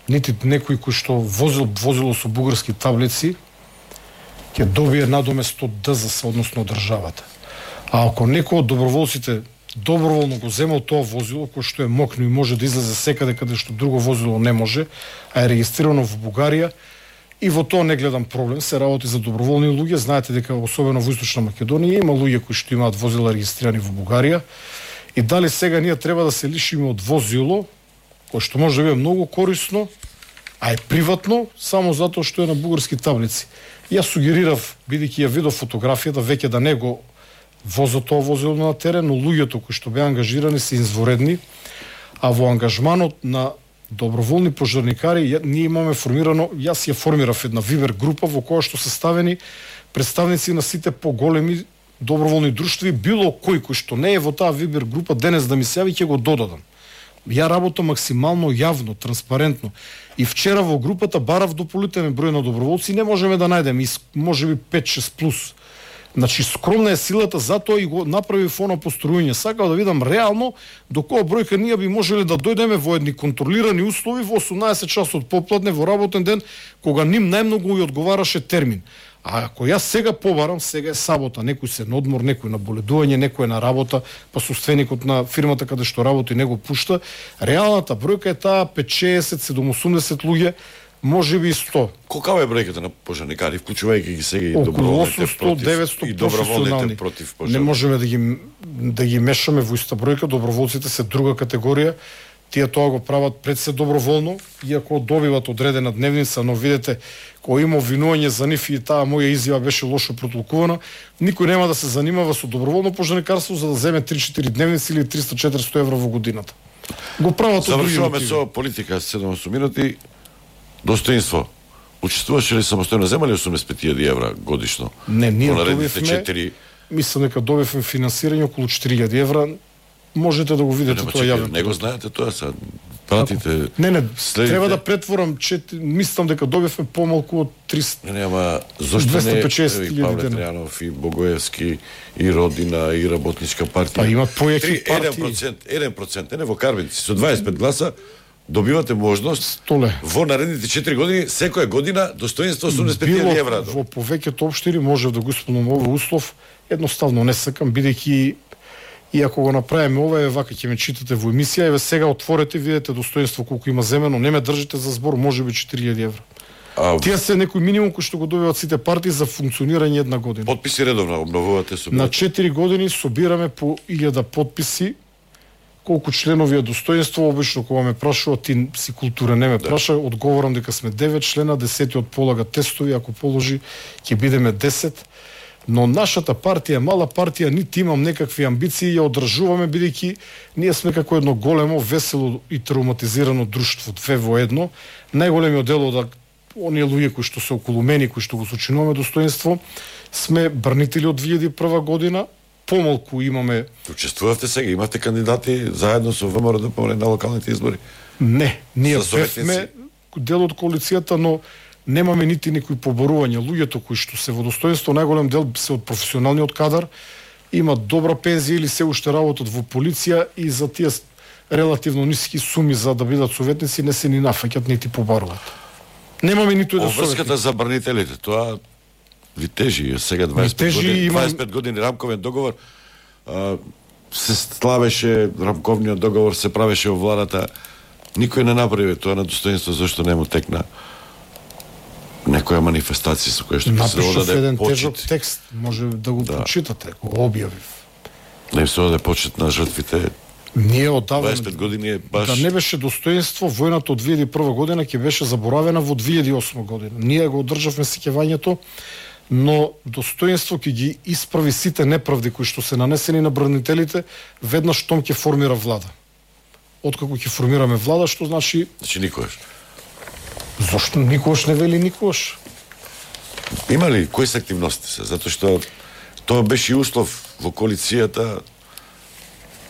нити некој кој што возил возило со бугарски таблици ќе добие надомест од Д З С, односно државата. А ако некој од доброволците доброволно го земал тоа возило, кој што е мокно и може да излезе секаде каде што друго возило не може, а е регистрирано во Бугарија, и во тоа не гледам проблем, се работи за доброволни луѓе. Знаете дека особено во Источна Македонија има луѓе кои што имаат возила регистрирани во Бугарија. И дали сега ние треба да се лишиме од возило, кое што може да биде многу корисно, а е приватно, само затоа што е на бугарски таблици. Јас сугерирав, бидејќи ја видов фотографијата, веќе да не го возат тоа возило на терен, но луѓето кои што беа ангажирани се изворедни, а во ангажманот на доброволни пожарникари ја, ние имаме формирано, јас ја формирав една Вибер група во која што се ставени представници на сите поголеми доброволни друштви, било кој кој што не е во таа Вибер група денес да ми се јави, ќе го додадам. Ја работам максимално јавно, транспарентно. И вчера во групата барав дополнителен број на доброволци, не можеме да најдеме, можеби пет-шест плюс. Значи скромна е силата, затоа и го направи фона постројање. Сакав да видам реално до која бројка ние би можеле да дојдеме во едни контролирани услови во осумнаесет часот попладне во работен ден, кога ним најмногу и одговараше термин. А ако јас сега побарам, сега е сабота, некој се на одмор, некој на боледување, некој е на работа, па собственикот на фирмата каде што работи не го пушта, реалната бројка е таа петдесет, седумдесет луѓе, можеби и сто. Колкава е бројката на пожарникари, вклучувајќи ги сега и околу доброволните осумсто против деветсто и доброволните професионални. против Не пожар. можеме да ги да ги мешаме во иста бројка, доброволците се друга категорија. Тие тоа го прават пред се доброволно, иако добиват одредена дневница, но видете, кој има обвинување за нив и таа моја изјава беше лошо протолкувана, никој нема да се занимава со доброволно пожарникарство за да земе три-четири дневници или триста-четиристо евро во годината. Го прават од други Завршуваме мотиви. со политика седум минути. Достоинство. Учествуваше ли самостојно, земали осумдесет и пет илјади евра годишно? Не, ние По наредните добивме, четири. мислам дека добивме финансирање околу четири илјади евра. Можете да го видите Нема, тоа чекай, јавно. не го знаете тоа са. Пратите. Не, не, следите. треба да претворам, чет... мислам дека добивме помалку од триста. Не, нема, зошто не двесте и петдесет еве, и илјади Павле дена. Тројанов и Богоевски и Родина и Работничка партија. Па имат поеки Три- партии. еден процент, еден процент, не во Карбенци, со дваесет и пет гласа добивате можност Толе. во наредните четири години, секоја година достоинство осумдесет и пет илјади евра. Во повеќето општини може да го исполнам овој услов, едноставно не сакам, бидејќи и ако го направиме ова, е вака ќе ме читате во емисија, еве сега отворете, видите достоинство колку има земено, не ме држите за збор, можеби четири илјади евра. А Тие се некој минимум кој што го добиваат сите партии за функционирање една година. потписи редовно обновувате со На четири години собираме по илјада потписи. Колку членови е достоинство, обично кога ме прашува, ти си култура не ме праша, одговорам дека сме девет члена, десетиот полага тестови, ако положи ќе бидеме десет. Но нашата партија е мала партија, нити имам некакви амбиции, ја одржуваме бидејќи ние сме како едно големо, весело и травматизирано друштво, две во едно. Најголемиот дел од оние луѓе кои што се околу мене, кои што го сочинуваме достоинство, сме брнители од две илјади и прва година, помалку имаме. Учествувавте сега, имате кандидати заедно со ВМРО да помре на локалните избори. Не, ние За советници? бевме дел од коалицијата, но немаме нити никои поборувања. Луѓето кои што се во достоинство, најголем дел се од професионалниот кадар, имат добра пензија или се уште работат во полиција и за тие релативно ниски суми за да бидат советници не се ни нафаќат нити побаруваат. Немаме ниту еден советник. Обврската за брнителите, тоа ви тежи, сега дваесет и пет тежи, години, имам- дваесет и пет години рамковен договор, а, се славеше рамковниот договор, се правеше во владата, никој не направи тоа на достоинство, зашто не му текна некоја манифестација со која што би се Напишав одаде еден тежок почит, текст, може да го Да. прочитате, го објавив. да им се одаде почит на жртвите. Ние одавна дваесет и пет години е баш... да не беше достоинство, војната од две илјади и прва година ќе беше заборавена во две илјади и осма година. Ние го одржавме сеќавањето, но достоинство ќе ги исправи сите неправди кои што се нанесени на бранителите веднаш том ќе формира влада. Откако ќе формираме влада, што значи Значи никојаш. зошто никогаш не вели никогаш. Има ли, кои се активности се? Затоа што тоа беше и услов во коалицијата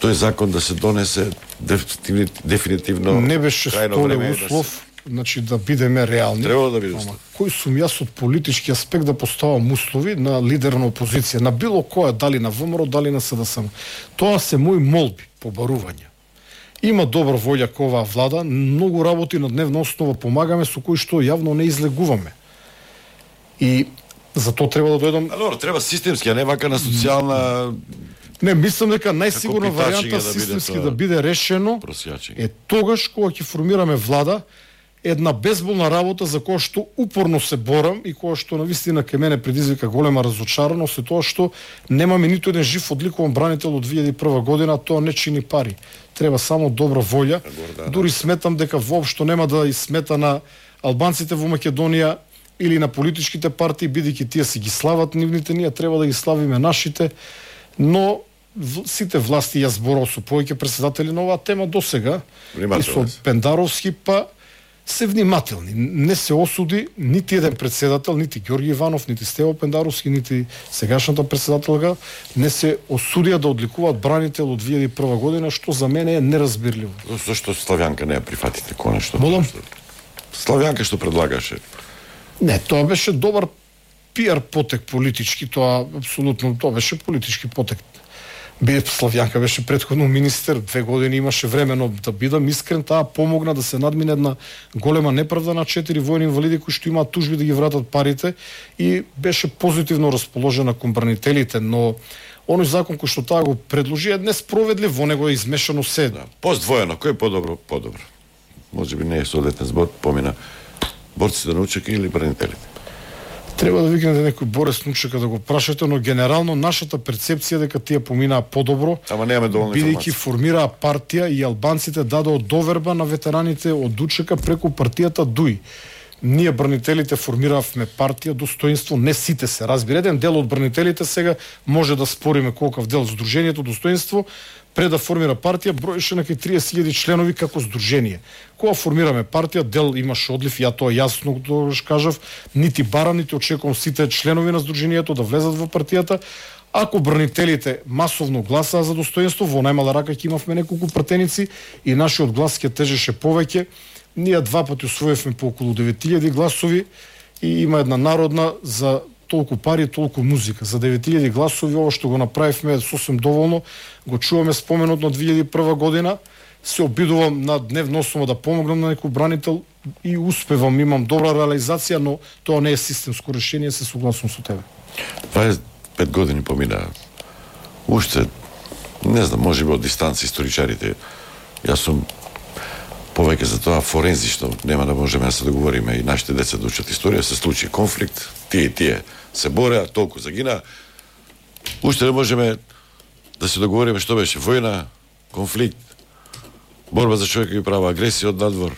тој закон да се донесе дефинитивно, дефинитивно Не беше крајно столе време е да услов, значи да бидеме реални. Требало да биде Ама услов. кој сум јас од политички аспект да поставам услови на лидер на опозиција, на било која, дали на ВМРО, дали на СДСМ. Тоа се мои молби, побарувања. Има добра волја кога оваа влада, многу работи на дневна основа помагаме со кои што јавно не излегуваме. И за тоа треба да дојдам. А добро, треба системски, а не вака на социјална Не, мислам дека најсигурна Како питачење варијанта да биде системски тоа. да биде решено просјачење. е тогаш кога ќе формираме влада, една безболна работа за која што упорно се борам и која што навистина кај мене предизвика голема разочараност е тоа што немаме ниту еден жив одликуван бранител од две илјади и прва година, а тоа не чини пари. Треба само добра волја. Дури сметам дека воопшто нема да смета на албанците во Македонија или на политичките партии, бидејќи тие си ги слават нивните, ние треба да ги славиме нашите, но в- сите власти, јас зборав со повеќе председатели на оваа тема досега, и со Внимателни се. Пендаровски, па се внимателни. Не се осуди нити еден председател, нити Ѓорги Иванов, нити Стево Пендаровски, нити сегашната председателка, не се осудија да одликуваат бранител од две илјади и прва година, што за мене е неразбирливо. Зошто Славјанка не ја прифатите конечно? Молам? Славјанка што предлагаше. Не, тоа беше добар пиар потек политички, тоа апсолутно, тоа беше политички потек. Бе, Славјанка беше претходно министер, две години имаше време, но да бидам искрен, таа помогна да се надмине една голема неправда на четири војни инвалиди кои што имаат тужби да ги вратат парите и беше позитивно расположена кон бранителите, но оној закон кој што таа го предложи е несправедлив, во него е измешано се. Да. Поздвоено, кој е подобро? Подобро. Може би не е соодветен збор, помина борците на УЧК или бранителите. Треба да викнете некој Борис Нучека да го прашате, но генерално нашата перцепција дека тие поминаа подобро. Ама немаме доволно бидејќи формираа партија и албанците дадоа доверба на ветераните од УЧК преку партијата ДУИ. Ние бранителите формиравме партија Достоинство, не сите се. Разбирате, еден дел од бранителите сега може да спориме колкав дел Сдруженијето Достоинство пред да формира партија броеше на триесет илјади членови како здружение. Кога формираме партија, дел имаше одлив, ја тоа јасно тогаш кажав, нити барам, нити очекувам сите членови на здруженијето да влезат во партијата. Ако бранителите масовно гласаа за Достоинство, во најмала рака ќе имавме неколку пратеници и нашиот глас ќе тежеше повеќе. Ние два пати усвоивме по околу девет илјади гласови и има една народна за толку пари, толку музика. За девет илјади гласови ова што го направивме е сосем доволно. Го чуваме споменот на две илјади и прва година. Се обидувам на дневна основа да помогнам на некој бранител и успевам, имам добра реализација, но тоа не е системско решение, се согласувам со тебе. дваесет и пет години помина. Уште, не знам, може би од дистанци историчарите. Јас сум повеќе за тоа форензично, нема да можеме да се договориме и нашите деца да учат историја, се случи конфликт, тие и тие се бореа, толку загина. Уште не можеме да се договориме што беше војна, конфликт, борба за човекови права, агресија од надвор.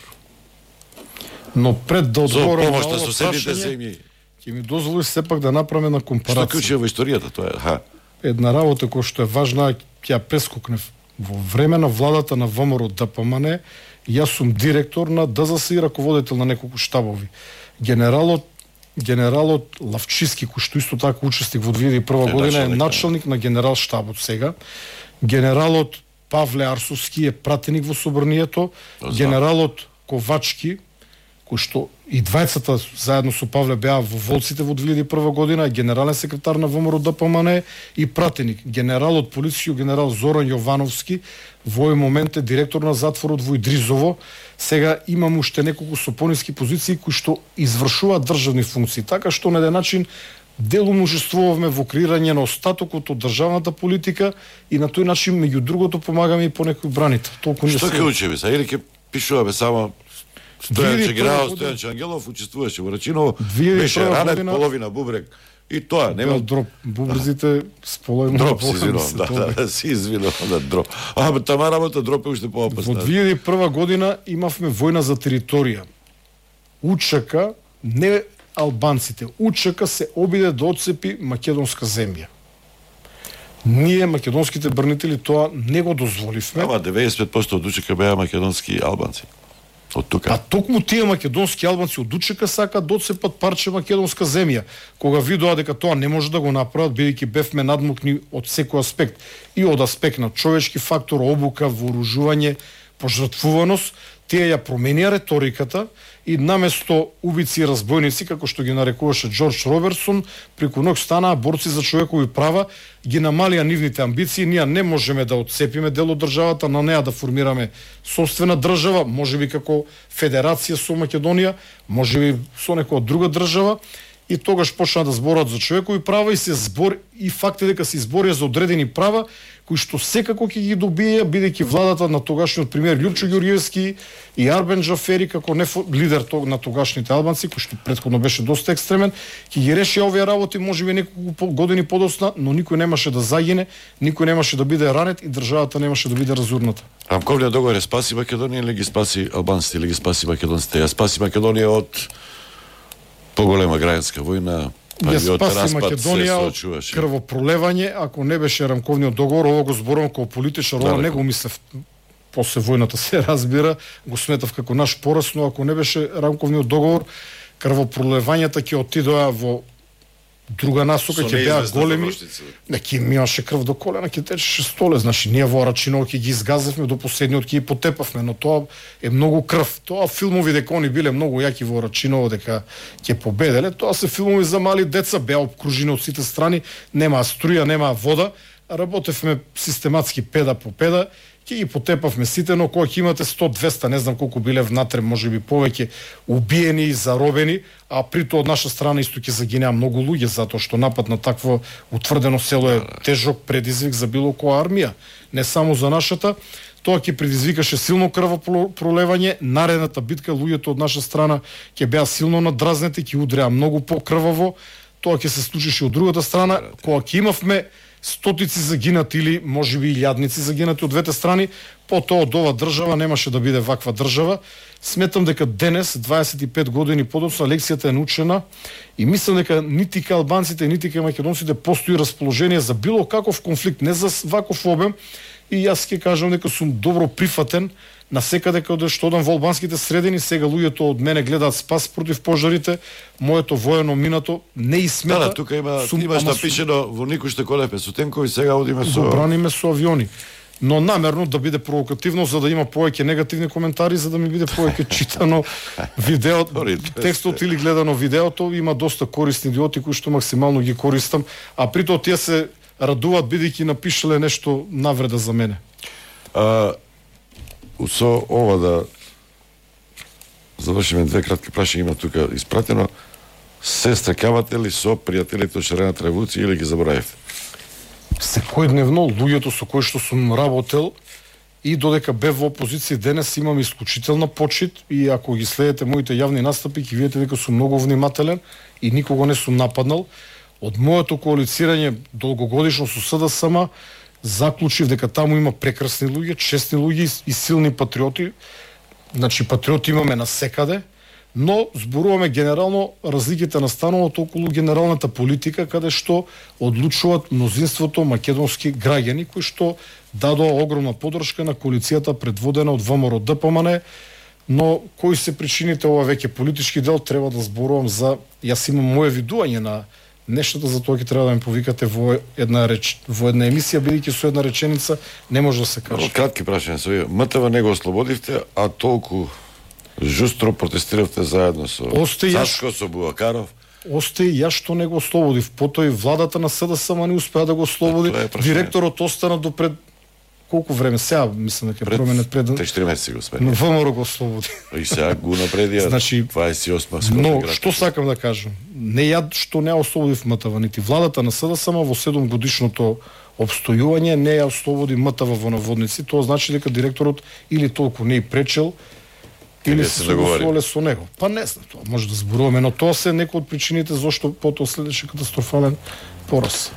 Но пред да одговорам на ова соседните земји, ќе ми дозволи сепак да направиме на компарација. Што клучи во историјата тоа е? Ха. Една работа која што е важна, ќе ја прескокнев. Во време на владата на ВМРО ДПМН, јас сум директор на ДЗС и раководител на неколку штабови. Генералот генералот Лавчиски, кој што исто така учесник во две илјади и прва е, година, е началник на генерал штабот сега. Генералот Павле Арсовски е пратеник во Собранието. Генералот Ковачки, кој што и двајцата заедно со Павле беа во Волците во две илјади и прва година, е генерален секретар на ВМРО ДПМН и пратеник. Генералот полиција генерал Зоран Јовановски во овој момент е директор на затворот во Идризово. Сега имам уште неколку сопониски позиции кои што извршуваат државни функции, така што на еден начин делумно учествувавме во креирање на остатокот од државната политика и на тој начин меѓу другото помагаме и по некој бранител. Толку не Што ќе учиме са? Или ќе пишуваме само Стојанче Генерал Стојанче Ангелов учествуваше во Рачиново, беше ранет, година... половина бубрек и тоа нема дроп бубрезите с половина дроп си извинувам, да, да, да, си извинувам да дроп. А тама работа дроп е уште поопасна. Во две илјади и прва година имавме војна за територија. УЧК, не албанците, УЧК се обиде да отцепи македонска земја. Ние, македонските бранители, тоа не го дозволивме. Ама деветдесет и пет проценти од УЧК беа македонски албанци. Од тука. А токму тие македонски албанци од УЧК сакаат да отцепат парче македонска земја. Кога видоа дека тоа не може да го направат, бидејќи бевме надмукни од секој аспект, и од аспект на човечки фактор, обука, вооружување, пожртвуваност, тие ја променија реториката и наместо убици и разбойници, како што ги нарекуваше Џорџ Робертсон, преку ноќ станаа борци за човекови права, ги намалија нивните амбиции, ние не можеме да отцепиме дел од државата, на неа да формираме собствена држава, можеби како федерација со Македонија, можеби со некоја друга држава, и тогаш почнаа да зборат за човекови права и се збор и факт е дека се изборија за одредени права кои што секако ќе ги добија, бидејќи владата на тогашниот премиер Љупчо Ѓорѓевски и Арбен Џафери како не лидер на тогашните албанци, кој што претходно беше доста екстремен, ќе ги реши овие работи можеби неколку години подоцна, но никој немаше да загине, никој немаше да биде ранет и државата немаше да биде разурната. Рамковниот договор спаси Македонија или ги спаси албанците или ги спаси македонците? Ја спаси Македонија од поголема граѓанска војна, ја спаси Македонија од крвопролевање. Ако не беше рамковниот договор, ово го зборувам како политичар, ова не го мислев после војната, се разбира, го сметав како наш пораз, но ако не беше рамковниот договор, крвопролевањата ќе отидоа во друга насока, ќе беа големи. Неки имаше крв до колена, ќе течеше столе. Значи, ние во Рачиново ќе ги изгазевме до последниот, ќе ги потепавме, но тоа е многу крв. Тоа филмови дека они биле многу јаки во Рачиново, дека ќе победеле, тоа се филмови за мали деца, беа обкружени од сите страни, нема струја, нема вода, работевме систематски педа по педа, ќе ги потепавме сите, но кога ќе имате сто двеста, не знам колку биле внатре, можеби повеќе убиени и заробени, а при тоа од наша страна исто ќе загинеа многу луѓе, затоа што напад на такво утврдено село е тежок предизвик за било која армија, не само за нашата. Тоа ќе предизвикаше силно крвопролевање, наредната битка луѓето од наша страна ќе беа силно надразнети, ќе удреа многу покрваво. Тоа ќе се случише од другата страна, кога ќе имавме стотици загинати или можеби илјадници загинати од двете страни, потоа од ова држава немаше да биде ваква држава. Сметам дека денес, дваесет и пет години подоцна, лекцијата е научена и мислам дека нити кај албанците, нити кај македонците постои расположение за било каков конфликт, не за ваков обем. И јас ќе кажам дека сум добро прифатен на секаде каде што одам во албанските средини. Сега луѓето од мене гледаат спас против пожарите, моето воено минато не и смета. Да, да, тука има сум, имаш напишено во никој што колепе со тенкови, сега одиме со браниме со авиони. Но намерно да биде провокативно, за да има повеќе негативни коментари, за да ми биде повеќе читано видеото, текстот или гледано видеото. Има доста корисни идиоти кои што максимално ги користам, а при тоа тие се радуваат бидејќи напишале нешто навреда за мене. А, со ова да завршиме две кратки прашања, има тука испратено. Се стрекавате ли со пријателите од Шарената револуција или ги заборавивте? Секојдневно луѓето со кои што сум работел и додека бев во опозиција денес имам исклучителна почит и ако ги следите моите јавни настапи ќе видите дека сум многу внимателен и никого не сум нападнал. Од моето коалицирање долгогодишно со СДСМ заклучив дека таму има прекрасни луѓе, честни луѓе и силни патриоти. Значи патриоти имаме насекаде, но зборуваме генерално разликите настануваат околу генералната политика, каде што одлучуваат мнозинството македонски граѓани кои што дадоа огромна поддршка на коалицијата предводена од ВМРО Д П М Н. Но кои се причините, ова веќе политички дел, треба да зборувам за... Јас имам моje видување на нештата, за тоа ќе треба да ме повикате во една реч, во една емисија, бидејќи со една реченица не може да се каже. Кратки прашања со вие. М Т В не го ослободивте, а толку жустро протестиравте заедно со Сашко, со Буакаров. Остаи јас што не го ослободив. Потоа и владата на СДСМ не успеа да го ослободи. Директорот остана до пред колку време, сега мислам дека променет пред три-четири месеци го успеа. Но ВМРО го ослободи. И сега го напредија. Значи дваесет и осма. Но што сакам да кажам? Не ја што не ослободив М Т В, нити владата на СДСМ во седум годишното обстојување не ја ослободи М Т В во наводници. Тоа значи дека директорот или толку не и пречел, или се согласувале со него. Па не знам, тоа може да зборуваме, но тоа се некои од причините зашто потоа следеше катастрофален пораз.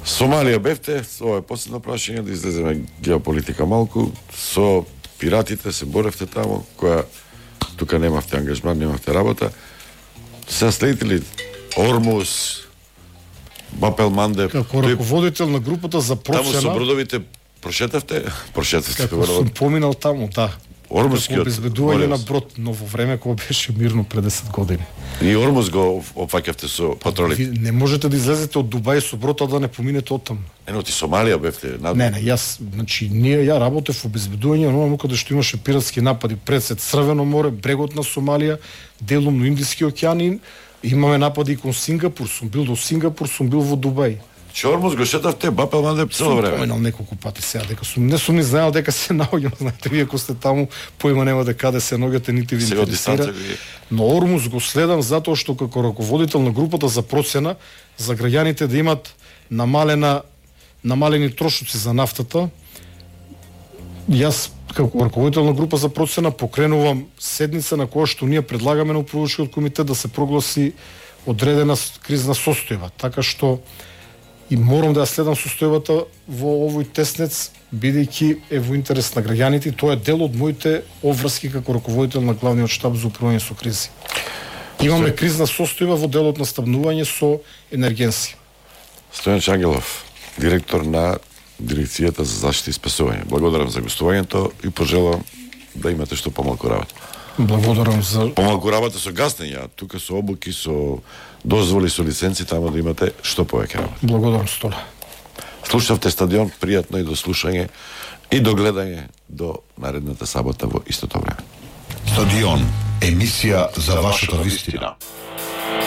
Сомалија бевте, ова е последно прашање, да излеземе геополитика малку. Со пиратите се боревте таму, која тука немавте ангажман, немавте работа. Се следите ли Ормуз, Бапел Мандеб? Како раководител на групата за процена... Таму со бродовите прошетавте? Прошетавте. Како сум поминал таму, да. Ормузскиот обезбедување на брод, но во време кога беше мирно пред десет години. И Ормуз го опфаќавте со патроли. Ви не можете да излезете од Дубај со брод, а да не поминете оттаму. Ено ти Сомалија бевте над... Не, не, јас, значи ние ја работев во обезбедување на онаму каде што имаше пиратски напади пред се Црвено море, брегот на Сомалија, делумно Индиски океан и имаме напади и кон Сингапур, сум бил до Сингапур, сум бил во Дубај. Че Ормуз го шетавте, Бапел Мандеб цело време. Сум поминал неколку пати сега, дека сум, не сум ни знаел дека се наоѓам, знаете, вие ако сте таму, поима нема да каде се наоѓате, нити ви интересира. Но Ормуз го следам затоа што како раководител на групата за процена, за граѓаните да имат намалена, намалени трошоци за нафтата, јас како раководител на група за процена покренувам седница на која што ние предлагаме на управувачкиот комитет да се прогласи одредена кризна состојба, така што и морам да ја следам состојбата во овој теснец, бидејќи е во интерес на граѓаните. Тоа е дел од моите обврски како раководител на главниот штаб за управување со кризи. Имаме кризна состојба во делот на стабнување со енергенси. Стојан Чангелов, директор на Дирекцијата за заштита и спасување. Благодарам за гостувањето и пожелавам да имате што помалку работа. Благодарам за помалку работа со гаснење, тука со обуки, со дозволи, со лиценци, таму да имате што повеќе работа. Благодарам Стола. Слушавте Стадион, пријатно и до слушање и до гледање до наредната сабота во истото време. Стадион, емисија за вашата вистина.